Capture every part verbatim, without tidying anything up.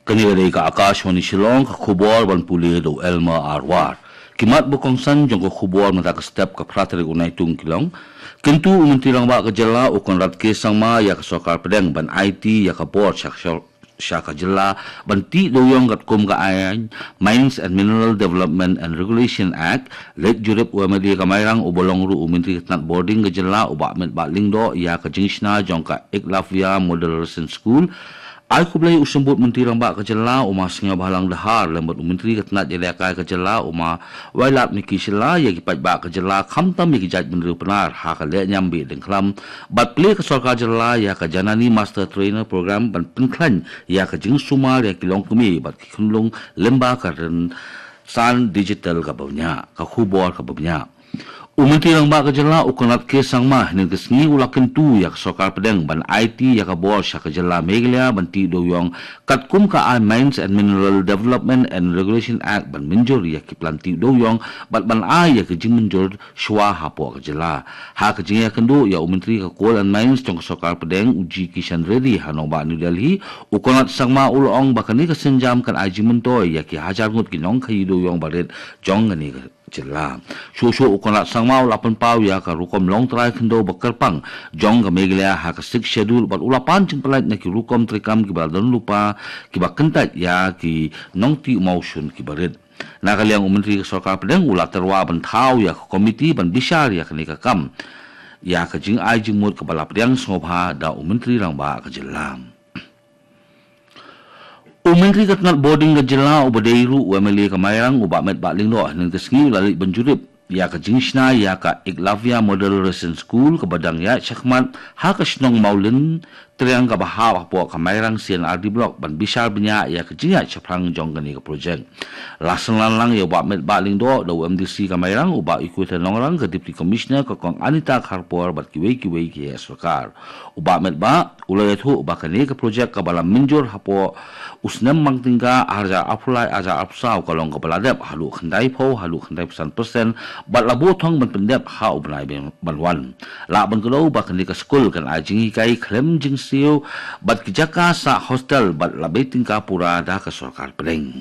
Kane ka dei ka Akashvani Shillong, ka khubor ban pule da u Elmer Arwar. Ki mat ba kongsan jong ka khubor mynta ka step ka phra tarik u Naitung ki long. Kyntu u Myntri Rangbah ka jylla u Conrad K Sangma ïa ka sorkar pdeng ban aiti ïa ka bor sha ka sha ka jylla ban tih dewiong katkum ka aiñ Mines and Mineral Development and Regulation Act. Leit jurip u M L A ka Mairang uba long ruh u Myntri ka tnat bording ka jylla u Bah Metbah Lyngdoh ïa ka jingshna jong ka Eklavya Model Residence School. Ai khublei u Symbud Myntri Rangbah ka jylla u Ma Sniawbhalang Dhar lem bad u Myntri ka tnat ïalehkai ka jylla u Ma Wailadmiki Shylla ïa ki paidbah ka jylla khamtam ïa ki jaitbynriew Pnar ha ka lehniam Bieit Dyngkhlam bad plie ka sorkar jylla ïa ka Janani Master Trainer Program ban pynkhlaiñ ïa ka jingsumar ïa ki longkmie bad ki khunlung lyngba ka rynsan digital kaba bniah, ka khubor kaba bniah. U Myntri Rangbah ka jylla u Conrad K Sangma hynnin ka sngi u la kyntu ïa ka sorkar pdeng ban aiti ïa ka bor sha ka jylla Meghalaya ban tih dewiong katkum ka aiñ Mines and Mineral Development and Regulation Act ban mynjur ïa ki plan tih dewiong bad ban ai ïa ka jingmynjur shuwa hapoh ka jylla. Ha ka jingïakynduh ïa u Myntri ka Coal and Mines jong ka sorkar pdeng u G Kishan Reddy ha nongbah New Delhi, u Conrad Sangma u la ong ba kane ka sienjam kan ai jingmyntoi ïa ki hajar ngut ki nongkhaïi dewiong barit jong kane ka jylla. Shuh shuh u Conrad Sangma u la pynpaw ïa ka rukom longtrai khyndew ba kyrpang jong ka Meghalaya ha ka Sixth Schedule bad u la pan jingpyllait na ki rukom treikam kiba la don lypa kiba kyntait ïa ki nongtih mawshun kiba rit. Na ka liang u Myntri ka sorkar pdeng u la tyrwa ban thaw ïa ka komiti ban bishar ïa kane ka kam ïa ka jingai jingmut kaba la pdiang sngewbha da u Myntri Rangbah ka jylla. U Myntri ka tnat bording ka jylla uba dei ruh u M L A ka Mairang u Bah Metbah Lyngdoh hynnin ka sngi u la leit ban jurip ïa ka jingshna ïa ka Eklavya Model Residence School kaba dang ïaid shakhmat ha ka shnong Mawlyntriang kaba hap hapoh ka Mairang C and R D Block ban bishar bniah ïa ka jingïaid shaphrang jong kane ka projek. La synran lang ïa u Bah Metbah Lyngdoh da u M D C ka Mairang u Bah Equator Nongrang, ka Deputy Commissioner ka Kong Anita Kharpor bad kiwei kiwei ki heh sorkar. U Bah Metbah u la ïathuh ba kane ka projek kaba la mynjur hapoh u snem mang tyngka arhajar arphew lai arhajar arphew saw ka long kaba la dep haduh khyndaiphew haduh khyndaiphew san persen bad la buh thong ban pyndep ha u bnai ban wan. Lah ban kdew ba kane ka skul kan ai jinghikai khlem jingsiew bad ki jaka sah hostel bad la bei tyngka pura da ka sorkar pdeng.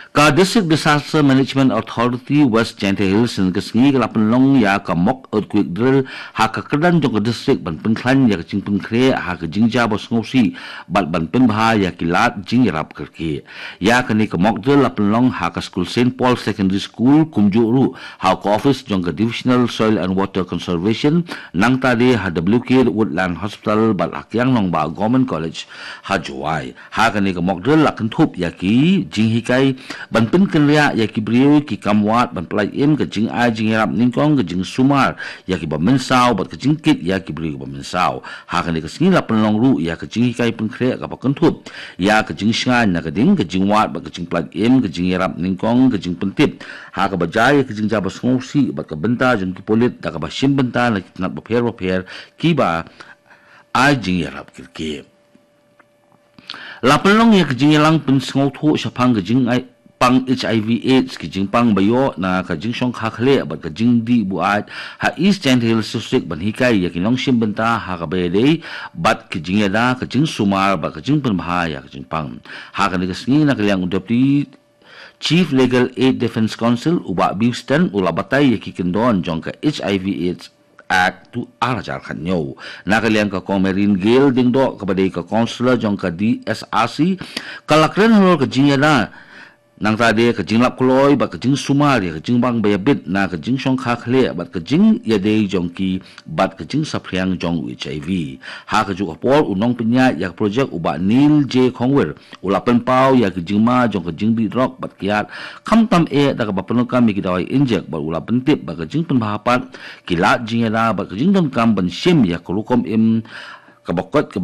Ka District Disaster Management Authority West Jaintia Hills hynnin ka sngi ka la pynlong ïa ka mock earthquake drill ha ka kyrdan jong ka district ban pynkhlaiñ ïa ka jingpynkhreh ha ka jingjia ba sngewsih bad ban pynbha ïa ki lad jingïarap kyrkieh. Ïa kane ka mock drill la pynlong ha ka skul Saint Paul Secondary School kumjuh ruh ha ka office jong ka Divisional Soil and Water Conservation, nangta de ha W K Woodland Hospital bad ha Kiang Nangbah Government College ha Jowai. Ha kane ka mock drill la kynthup ïa ki jinghikai ban pynkynriah ïa ki briew, ki kam wad ban pyllait im, ka jingai jingïarap nyngkong, ka jingsumar ïa kiba mynsaw bad ka jingkit ïa ki briew kiba mynsaw. Ha kane ka sngi la pynlong ruh ïa ka jinghikai pynkhreh kaba kynthup ïa ka jingshngaiñ na ka ding, ka jingwad bad ka jingpyllait im, ka jingïarap nyngkong, ka jingpyntip ha kaba jia ïa ka jingjia ba sngewsih bad ka bynta jong ki pulit da kaba shim bynta na ki tnat bapher bapher kiba ai jingïarap kyrkieh. La pynlong ïa ka jingïalang pynsngewthuh shaphang ka jingpang H I V AIDS, ki jingpang ba ïoh na ka jingshongkha khlieh bad ka jingdih buaid ha East Jaintia Hills District ban hikai ïa ki nongshim bynta ha kaba ïadei bad ka jingïada, ka jingsumar bad ka jingpynbha ïa ka jingpang. Ha kane ka sngi na ka liang u Deputy Chief Legal Aid Defence Counsel u Bah Bill Sten u la batai ïa ki kyndon jong ka H I V AIDS Act tu arhajar khatñiew. Na ka liang ka Kong Marine Gail Diengdoh kaba dei ka Counsellor jong ka D S R C ka la kren halor ka jingïada, nangta de ka jinglap kloi bad ka jingsumar ïa ka jingbang ba ïabit na ka jingshongkha khlieh bad ka jingïadei jong ki bad ka jingsaphriang jong u H I V. Ha kajuh ka por u nongpynïaid ïa ka projek u Bah Neil J Khongwir u la pynpaw ïa ka jingma jong ka jingdih drok bad kiad khamtam eh da kaba pyndonkam ïa ki dawai injek bad u la pyntip ba ka jingpynbha pat ki lad jingïada bad ka jingdonkam ban shim ïa ka rukom im kaba koit kaba